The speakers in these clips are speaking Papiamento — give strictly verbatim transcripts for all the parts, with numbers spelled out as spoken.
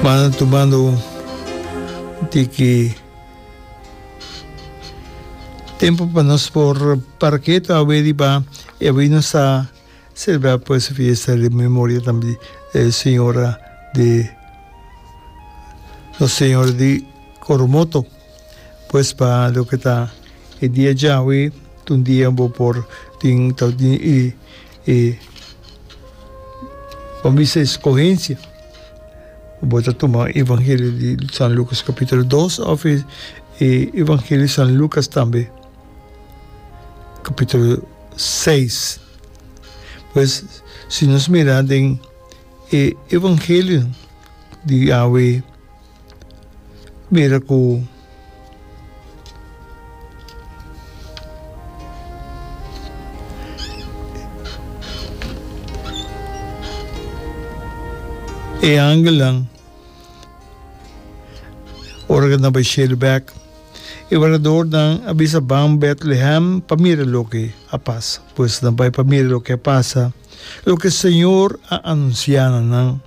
Manda tumando un tiki tempo pa nos por para keto awe riba e awe nos ta celebra pues fiesta di memoria tambe di Señora di Nos Señora di Coromoto. Pues pa loke ta e dia djawe ta un dia bo por tin ta tin e e bo bisa escogencia. Bo ta tuma evangelio di San Lucas capítulo dos of e e evangelio di San Lucas tambe capítulo seis. Pues si nos mira den e evangelio di awe mira ku e angelnan ora ku nan bai shelu bek e wardadornan a bisa ban Betlehem pa mira loke a pasa. Pues nan bai pa mira loke a pasa, loke Señor a anunsiá na nan.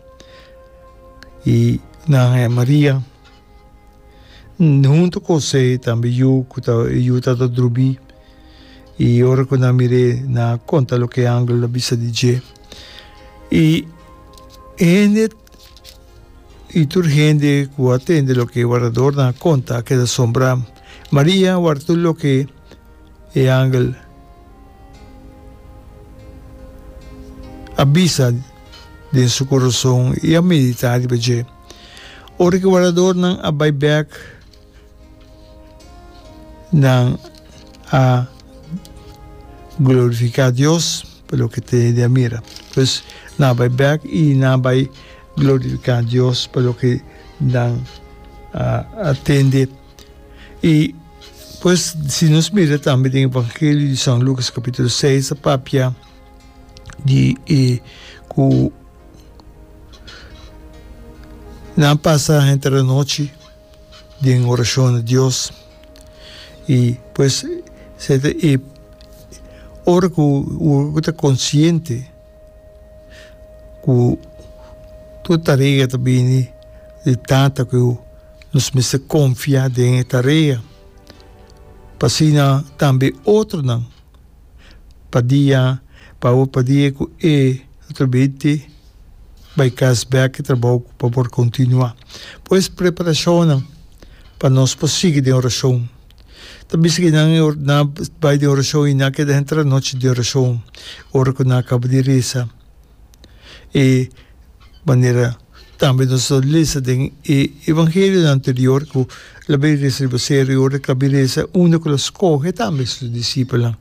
I nan haña Maria huntu ku José, tambe yu ku ta e yu tabata drumí. I ora ku nan mir'é, nan a konta loke e angel a bisa di dje. I hende i tur hende ku a tende loke e wardadornan a konta a keda asombrá. Maria a warda tur loke e angel a bisa den su kurason i a meditá riba dje. Ora ku e wardadornan a bai bèk, nan a glorifiká Dios pa loke te hende a mira. Pues, nan a bai bèk i nan a bai glorifiká Dios pa loke nan a tende. I pues, si nos mira tambe den Evangelio di San Lucas capítulo seis, a papia di e ku nan pasa henter anochi den orashon na Dios. I pues, se ta e ora ku bo ta konsiente ku tur tarea ta bini di Tata ku nos mester konfia den e tarea pa asina tambe otronan pa dia pa awor pa dia ku e otro binte bai kas bek e trabou pa por kontinuá. Pues preparashonnan pa nos por sigui den orashon. Ta bisa ku nan nan bai den orashon i nan keda henter anochi den orashon ora ku nan a kaba di resa. E manera tambe nos ta lesa den e evangelionan anterior ku el a bai resa riba seru i ora ku el a bai resa unda ku el a skohe tambe su disipelnan.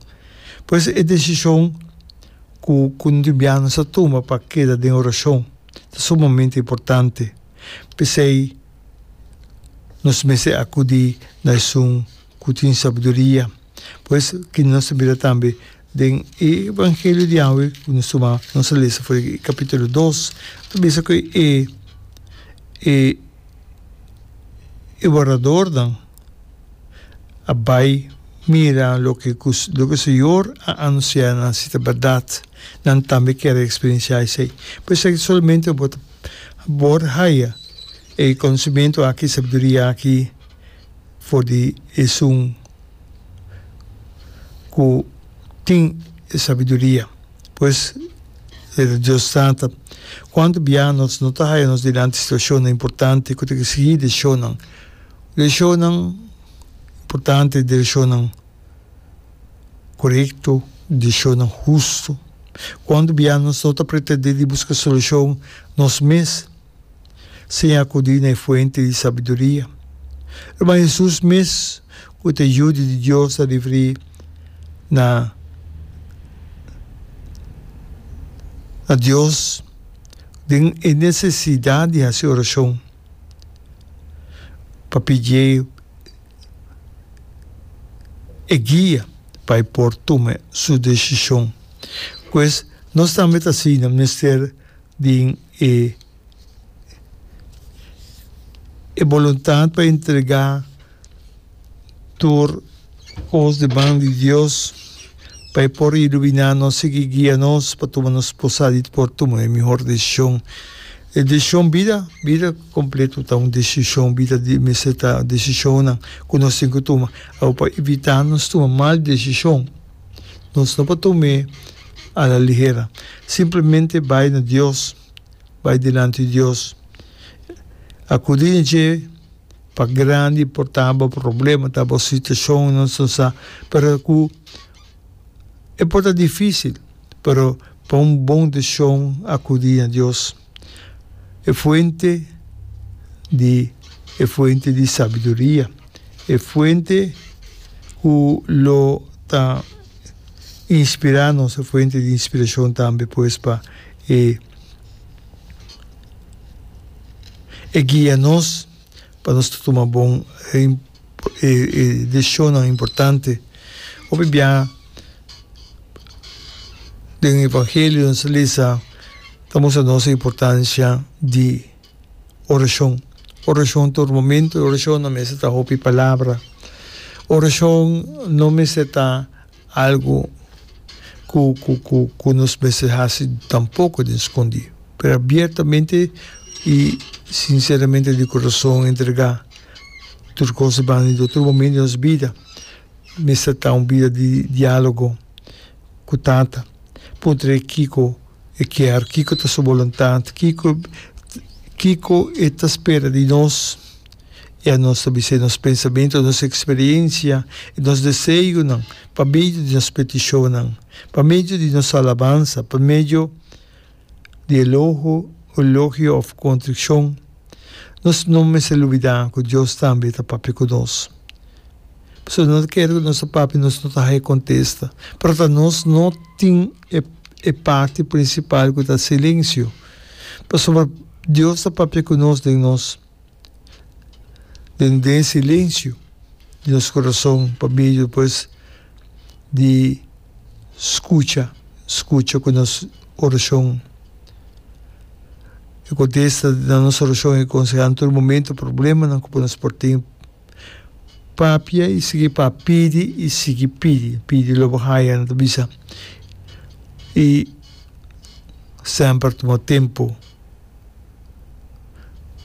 Pues e desishon ku ku nos sa tuma pa keda den orashon ta sumamente importante. P'esei nos mester akudí na esun ku tin sabiduria. Pues kende nos ta mira tambe den e evangelio di awe ku nos tuma nos a lesa for di kapítulo dos ta bisa ku e e e wardadornan a bai mira loke ku loke Señor a anunsiá nan si ta bèrdat nan tambe kier a eksperensiá esei. Por esaki solamente bo ta por haya e konosementu aki, sabiduria aki for di esun ku tin e sabiduria. Pues, e ta Dios Tata. Kuantu bia nos no ta haya nos dilanti situashonnan importante ku ta eksigí desishonnan, desishonnan importante, desishonnan korekto, desishonnan hustu. Kuantu bia nos no ta pretendé di buska solushon nos mes? Sin akudí na e fuente di sabiduria. Ruman Hesus mes, ku ta e Yu di Dios, a referí na na Dios den e nesesidat di hasi orashon pa pidié e guia pa e por tuma su desishon. Pues, nos tambe ta asina mester den e e boluntat pa entregá tur kos den man di Dios pa e por iluminá nos, sigui guia nos pa tuma nos por sa di por tuma e mihor desishon. E desishon bida, bida kompleto ta un desishon, bida di mester ta desishonnan ku nos tin ku tuma. Awor pa evitá nos tuma mal desishon, nos no por tum'é a la ligera. Simplemente bai na Dios, bai dilanti di Dios, akudí na dje pa grandi por ta bo problema, ta bo situashon, nos no sa, pero ku e por ta difísil, pero pa un bon desishon akudí na Dios, e fuente di e fuente di sabiduria, e fuente ku lo ta inspirá nos, e fuente di inspirashon tambe pues pa e e guia nos pa nos ta tuma bon e e desishonnan importante. Hopi biaha den evangelio nos ta lesa ta mustra nos e importancia di orashon. Orashon tur momento, orashon no mester ta hopi palabra, orashon no mester ta algu ku ku ku ku nos mester hasi tampoko den skondí, pero abiertamente i sinseramente di kurason entregá tur kos banda di Dios. Tur momento di nos bida mester ta un bida di diálogo ku Tata, puntra e kiko e kier, kiko ta su boluntat, kiko kiko e ta spera di nos. I anos ta bis'é nos pensamentu, nos eksperensia i nos deseonan pa medio di nos petishonnan, pa medio di nos alabansa, pa medio di eloho, elogio òf kontrikshon. Nos no mester lubidá ku Dios tambe ta papia ku nos. Pasobra no ta kere ku nos ta papia nos no ta haña kontesta. Pero ta nos no tin e e parti prinsipal ku ta silensio. Pasobra Dios ta papia ku nos den nos. Den den silencio di nos corazon pa medio pues di scucha, scucha cu nos oracion. E contesta na nos oracion y conseha na tur momento problemanan cu nos por tin. Papia y sigui pa pidi y sigui pidi, pidi lo bo haya nan ta bisa. Y semper tuma tempo.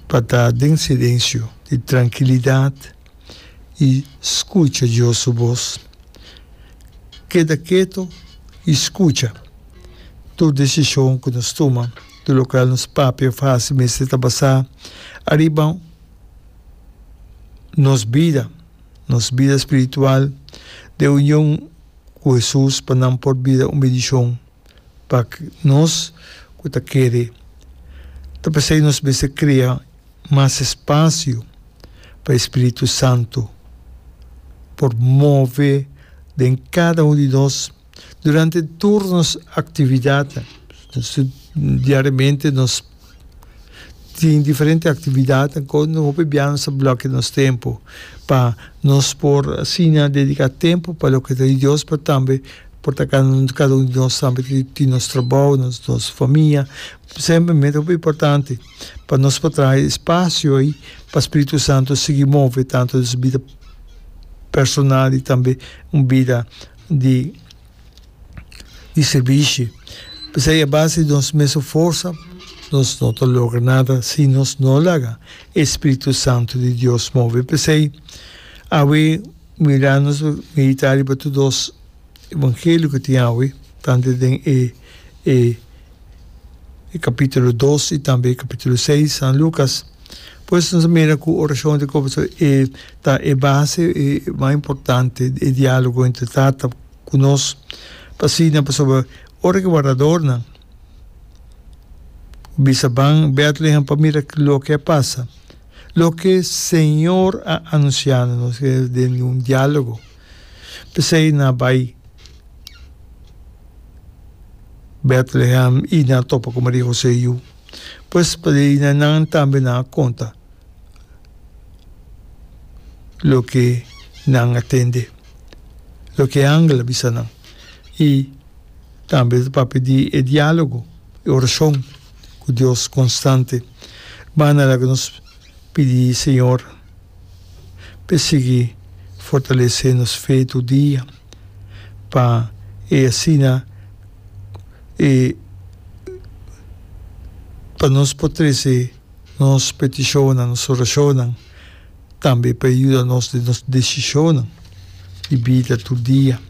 Pa ta den silensio di trankilidat i skucha Dios su bos. Keda keto i skucha. Tur desishon ku nos tuma, tur lokual nos papia òf hasi mester ta basá ariba nos bida, nos bida spiritual den union ku Hesus pa nan por bira un bendishon. Pa nos ku ta kere ta p'esei nos mester krea mas espasio pa e Spiritu Santu por move den kada un di nos durante tur nos aktividatnan. Diariamente nos tin diferente aktividatnan ku hopi bia nos ta blòkia nos tempu pa nos por asina dediká tempu pa loke ta di Dios, pero tambe por ta kada un di nos tambe tin nos trabou, nos famia. Semper mester hopi importante pa nos por traha e espasio ei pa Spiritu Santu sigui move tantu nos bida personal i tambe un bida di di sirbishi. P'esei a base di nos mesun forsa nos no ta logra nada si nos no laga e Spiritu Santu di Dios move. P'esei awe mira nos meditá riba tur dos evangelio ku tin awe, tantu den e e e kapítulo dos i tambe e kapítulo seis, San Lukas. Pues nos a mira ku orashon ta komo e ta e base e mas importante, e diálogo entre Tata ku nos pa asina pasobra ora ku e wardadornan bisa ban Bètlehem pa mira loke a pasa, loke Señor a anunsiá na nos den un diálogo. P'esei nan a bai Bètlehem i nan a topa ku Maria Hosé yu. Pues pa di na nan tambe nan a konta loke nan a tende, loke e angel a bisa nan. I tambe ta papia di e diálogo, e orashon ku Dios konstante. Banda laga nos pidi Señor p'e sigui fortalesé nos fe tur dia, pa e asina e Pa nos por trese nos petishonnan, nos orashonnan, tambe pa yuda nos den nos desishonnan di bida tur dia.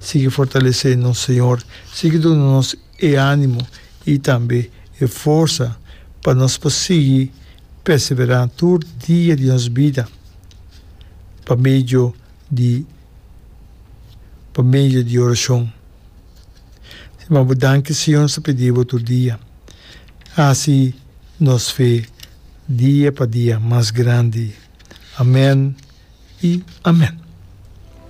Sigui fortalesé nos, Señor. Sigui duna nos e ánimo i tambe e forsa pa nos por sigui perseverá tur dia di nos bida pa medio di pa medio di orashon. Stima bo danki Señor nos ta pidi bo tur dia. Hasi nos fe dia pa dia mas grandi. Amen i amen.